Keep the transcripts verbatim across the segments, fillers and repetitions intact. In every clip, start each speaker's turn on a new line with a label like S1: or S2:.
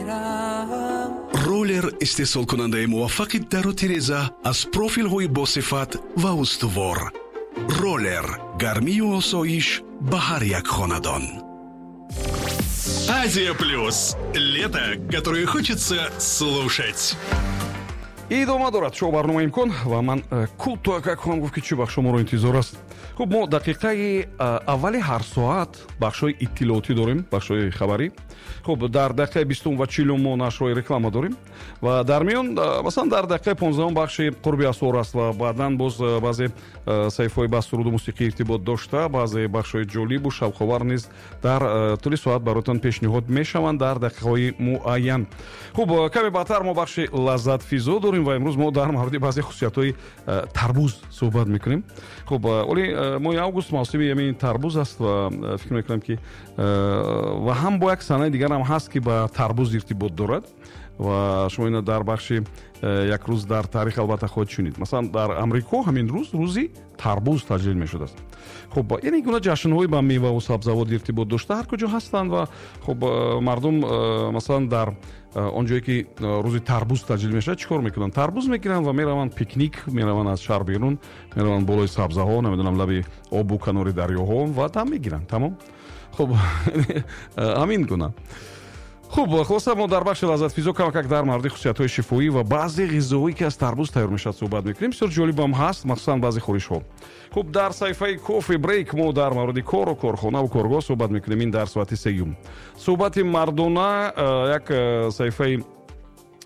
S1: мерам.
S2: Роллер, истеҳсолкунандаи муваффақи дару тиреза аз профилҳои босифат ва устувор. Роллер, гармию осоиш ба ҳар як хонадон.
S3: Азия Плюс. Лето, которое хочется слушать.
S4: Идома дорад шоу барномаи «Имкон» ва ман э, кӯтоҳакак хоҳам гуфт, ки чӣ бахшҳо моро интизор аст. Хуб, мо дақиқаи э, аввали ҳар соат бахшҳои иттилоотӣ дорем, бахшҳои хабарӣ. Хуб, дар дақиқаи бистум ва чилум мо нашрҳои реклама дорем ва дар миён, э, масалан, дар дақиқаи понздаҳум бахши «Қурби асор» аст ва баъдан боз баъзе саҳифаҳои ба суруду мусиқӣ иртибот дошта, баъзе бахшҳои ҷолибу шавқовар низ дар тӯли соат бароятон пешниҳод мешаванд дар дақиқаҳои муайян. Хуб, каме баъдтар мо бахши «Лаззатфизо» дорем ва имрӯз мо дар мавриди баъзе хусусиятҳои э, тарбуз суҳбат мекунем. Хуб, э, оли э, моҳи август мавсими ҳамин тарбуз аст ва фикр мекунам, ки ва ҳам бо як санаи дигарам ҳаст, ки ба тарбуз иртибот дорад ва шумо ина дар бахши «Як рӯз дар таърих» албатта хоҳед шунид. Масалан, дар Амрико ҳамин рӯз рӯзи тарбуз таҷлил мешудааст. Хуб, яъне гуна ҷашнҳои ба меваву сабзавот иртибот дошта ҳар куҷо ҳастанд ва хуб, мардум, масалан, дар он ҷое ки рӯзи тарбуз таҷлил мешавад, чӣ кор мекунанд? Тарбуз мегиранд ва мераванд пикник, мераванд аз шаҳр берун, мераванд болои сабзаҳо, намедонам, лаби обу канори дарёҳо ва дам мегиранд, тамом. Хуб, ҳамин гуна. Хуб, хулоса, мо дар бахши «Лаззатфизо» камакак дар мавриди хусусиятҳои шифоӣ ва баъзе ғизоҳое, ки аз тарбуз тайёр мешавад, суҳбат мекунем. Бисёр ҷолибам ҳаст, махсусан баъзе хӯришҳо. Хуб, дар саҳифаи «Кофе брейк» мо дар мавриди кору корхонаву коргоҳ суҳбат мекунем, ин дар соати сеюм. «Суҳбати мардона» як саҳифаи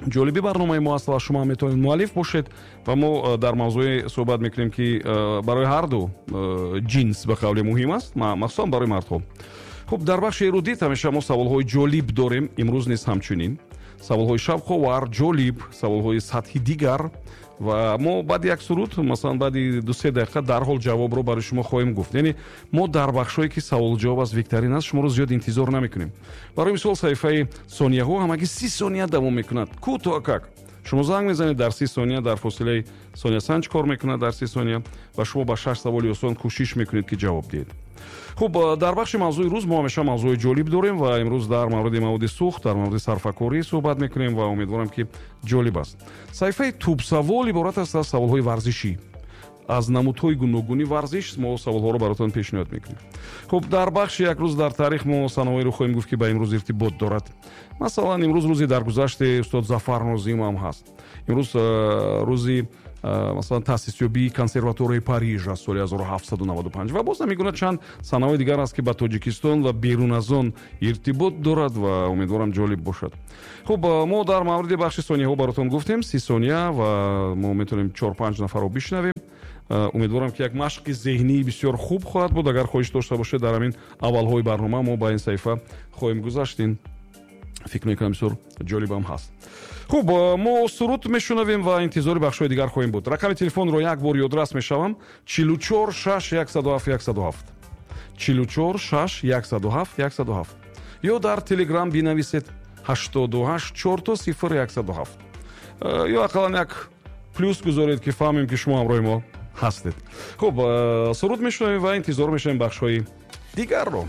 S4: ҷолиби барномаи мо аст ва шумо метавонед муаллиф бошед ва мо дар мавзӯе суҳбат мекунем, ки барои ҳарду ҷинс, ба қавле, муҳим аст, махсусан барои мардҳо. Хуб, дар бахши «Эрудит» ҳамеша мо саволҳои ҷолиб дорем, имрӯз низ ҳамчунин саволҳои шавқовар, ҷолиб, саволҳои сатҳи дигар ва мо баъди як суруд, масалан, баъди дусе дақиқа дарҳол ҷавобро барои шумо хоҳем гуфт. Яъне мо дар бахшҳое, ки саволҷавоб аст, викторин аст, шуморо зиёд интизор намекунем. Барои мисол, саҳифаи «Сонияҳо» ҳамагӣ си сония давом мекунад. Кӯтоҳакак шумо занг мезанед, дар си сония, дар фосилаи сониясанҷ кор мекунад дар си сония ва шумо ба шаш саволи осон кӯшиш мекунед, ки ҷавоб диҳед. Хуб, дар бахши «Мавзӯи рӯз» мо ҳамеша мавзӯи ҷолиб дорем ва имрӯз дар мавриди маводи сӯхт, дар мавриди сарфакорӣ суҳбат мекунем ва умедворам, ки ҷолиб аст. Саҳифаи «Тӯбсавол» иборат аст аз саволҳои варзишӣ, аз намудҳои гуногуни варзиш мо саволҳоро баротон пешниҳод мекунем. Хуб, дар бахши «Як рӯз дар таърих» мо санаҳоеро хоҳем гуфт, ки ба имрӯз иртибот дорад. Масалан, имрӯз рӯзи даргузашти устод Зафар Нозим ҳам ҳаст. Имрӯз рӯзи, масалан, таъсисёбии консерваторияи Париж аз соли ҳазору ҳафтсаду наваду панҷ ва боз ҳамин гуна чанд санаҳои дигар аст, ки ба Тоҷикистон ва берун аз он иртибот дорад ва умедворам, ҷолиб бошад. Хуб, мо дар мавриди бахши сонияҳо баротон гуфтем, си сония ва мо метавонем чор панҷ нафарро бишнавем. Умедворам, ки як машқи зеҳнии бисёр хуб хоҳад буд. Агар хоҳиш дошта бошед, дар ҳамин аввалҳои барнома мо ба ин саҳифа хоҳем гузашт. Ин, фикр мекунам, бисёр ҷолибам ҳаст. Хуб, мо суруд мешунавем ва интизори бахшҳои дигар хоҳем буд. Рақами телефонро як бор ёдрас мешавам: чилу чор шаш яксаду ҳафт яксаду ҳафт, чилу чор шаш яксаду ҳафт яксаду ҳафт, ё дар Телеграм бинависед ҳаштоду ҳашт чорто сифр яксаду ҳафт, ё ақаллан як плюс гузоред, ки фаҳмем, ки шумо ҳамроҳи мо ҳастед. Хуб, суруд мешунавем ва интизор мешавем бахшҳои дигарро.